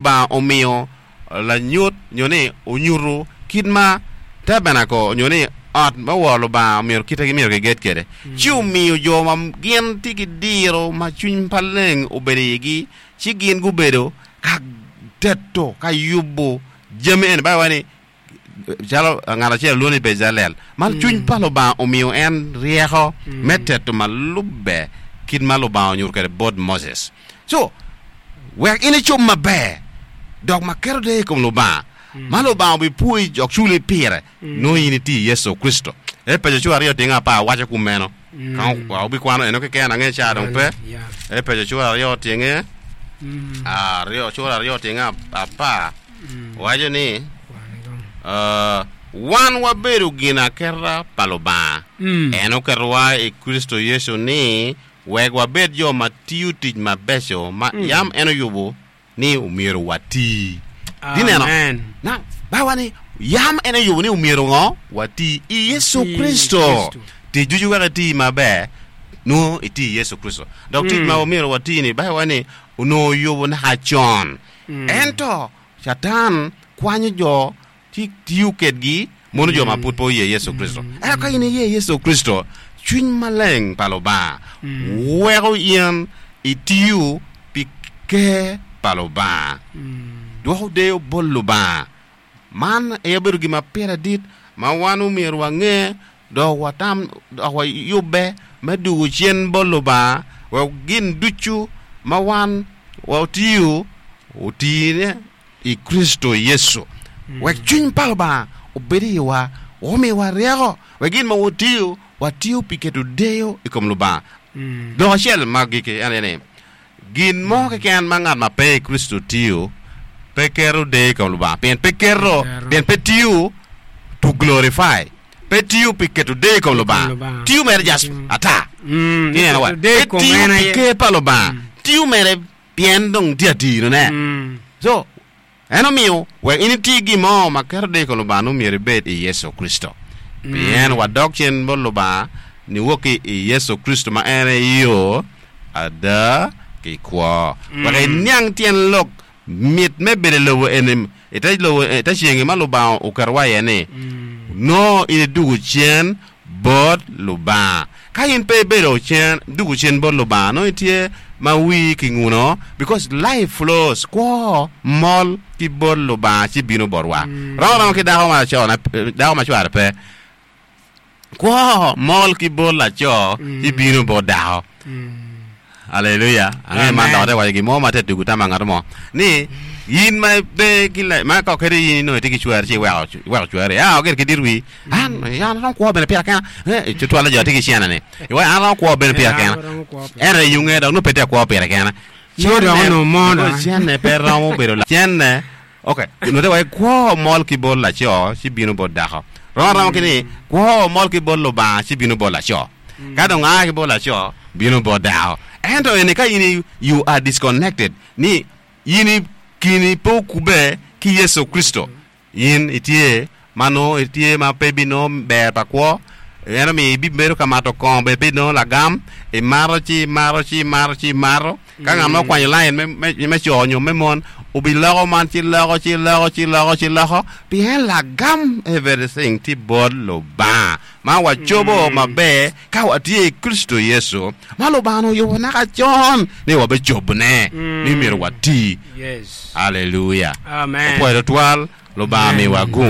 Lubanga omiyo lanyut nyo ni onyuto kit ma tabenakol nyo ni ot me woro Lubanga myero kite myero kiged kwede. Ci omiyo jo ma gin tye ki diro ma cwiny pa leng obedo i igi ci gin gubedo ka teto ka yubo jami eni. Baibul waco ni Calo ngat acel olwongo ni Bejalel, ma cwiny pa Lubanga omiyo en ryeko me teto ma lubbe kit ma Lubanga onyuto kwede bot Moses. Co, wek in icob maber dok ma keto deyo i kom Lubanga, ma Lubanga obipwoyi dok culi pire, nongo in itye i Yecu Kricito. Epeco cura aryo tyenge apar waco kumeno. Ka wubikwano eno keken, ange ca dong pe. Epeco cura aryo tyenge aryo, cura aryo tyenge apar waco ni, Wan wabedo ginaketa pa Lubanga. En oketowa i Kricito Yecu ni wek wabed jo ma tiyo tic mabeco ma yam en oyubo ni omyero wati. Itye neno? Now, Baibul waco ni yam en oyubo ni omyero ngo? Wati i Yecu Kricito. Tic ducu wek iti maber, nongo iti i Yecu Kricito. Dok tic ma omyero wati-ni, Baibul waco ni onongo oyubo naka con. Ento Catan kwanyo jo ci tiyo kedgi mono jo ma pud pe oye Yecu Kricito. Ento ka in iye Yecu Kricito, cwiny maleng pa Lubanga weko in itiyo pi Ker pa Lubanga, dwoko deyo bot Lubanga. Man aye obedo gin ma pire dit ma wan omyero wange dok watam dok wayubbe me dwogo cen bot Lubanga wek gin ducu ma wan watiyo otine i Kricito Yecu, wek cwiny pa Lubanga obed i iwa, omiwa ryeko, wek gin ma watiyo, watiyo pi keto deyo i kom Lubanga. Lok acel ma agikki en aye ni, gin mo keken ma ngat ma pe i Kricito tiyo, pe keto deyo i kom Lubanga, pien pe keto, pien pe tiyo to glorify, pe tiyo pi keto deyo i kom Lubanga, tiyo mere just ata. Ineno wa? Pe tiyo pi ker pa Lubanga, tiyo mere Pien dong tye atirone. Co, en omiyo wek in iti gin mo ma keto deyo i kom Lubanga nongo myero ibed i Yecu Kricito. Pien wadok cen bot Lubanga niwok ki i Yecu Kricito ma en aye yo, ada, ki kwo. Wek iniang tyen lok mit me bedo i lobo eni, i te lobo, i te cengi ma Lubanga oketowa iye ni, nongo in idwogo cen bot Lubanga. Ka in pe ibedo cen, dwogo cen bot Lubanga, nongo itye ma wii ki nguno, because life flows, kwo mol ki bot Lubanga ci bino botwa. Rom aroma ki dako ma laco, dako ma cware pe. Kwo mol ki bot laco ci bino bot dako. Aleluya! Angeyo man dok ate waco gin mo ma te tugo tam pa ngat mo ni in ma ipe ki la ma ka kadi in inongo itye ki cwari ci iweko iweko cwari a gire ki dit wii an an aromo kwo bene pira kena eh tutwalle jo atye ki cene ni iwaco an aromo kwo bene pira kena ento iyunge dok nongo pe tye ka kwo pire kene Nongo dok onongo mo dok. cene pe romo bedo cene Ok, onongo te waci kwo mol ki bot laco ci bino bot dako. Rom aroma ki ni kwo mol ki bot Lubanga ci bino bot laco. Ka dong a ki bot laco bino bot dako. Ento eni ka in you are disconnected ni in i kini pe okube ki Yecu Kricito, in itye ma nongo itye ma pe ibinongo ber pa kwo, en omiyo ibibedo ka mato kongo bene pe inongo lagam, imato ci imato ci imato ci imato. Ka ngat mo okwanyo lain me, me, me co nyo me mon, obiloko man ci loko ci loko ci loko ci loko, pien lagam everything tye bot Lubanga ma wacobo maber ka watye i Kricito Yecu, ma Lubanga oyubo naka con ni wabicobone, ni myero wati. Yes. Aleluya! Amen. Opwoyo twatwal, Lubanga miwa gum.